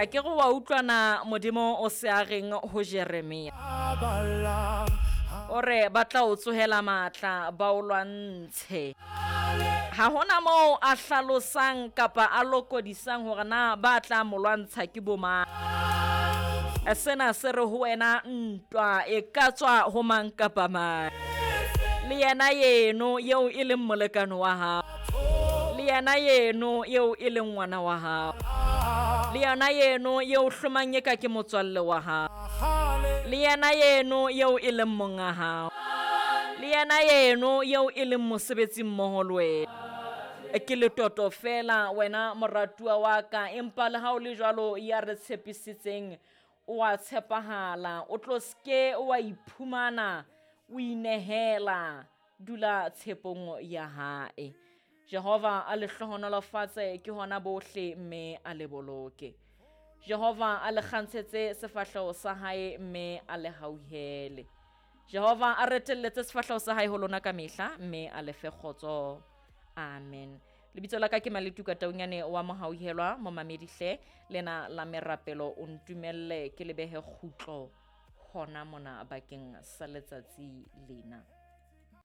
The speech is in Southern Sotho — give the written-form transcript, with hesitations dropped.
A ke re wa utlwa na Modimo o se a reng ho Jeremia. O re ba tla o tsohela matla ba o lwantshe. Ha hona moo a hlalosang kapa a lokodisang hore na ba tla mo lwantsha ke bomang. Sena se re ho wena ntwa e ka tswa ho mang kapa mang. Le yena yeno eo e leng molekane wa hao. Le yena yeno eo e leng ngwana wa hao. Le yena yeno eo hlomang eka ke motswalle wa hao. Le yena yeno eo e leng monga hao. Le yena yeno eo e leng mosebetsi mmoho le wena. Ke letoto fela wena moratuwa wa ka, empa le ha o le jwalo ya re tshepisitseng o a tshepahala. O tlo ske wa iphumana o inehela, dula tshepong ya hae. Jehova a le hlohonolofatse ke hona bohle mme a le boloke. Jehova a le kgantshetse sefahleho sa hae mme a le hauhele. Jehova a retelletse sefahleho sa hae ho lona ka mehla mme a le fe kgotso. Amen. Lebitso la ka ke Maletuka Taunyane wa Mohauhelwa, momamedi hle lena la merapelo o ntumelle ke le behe kgutlo hona mona bakeng sa letsatsi lena.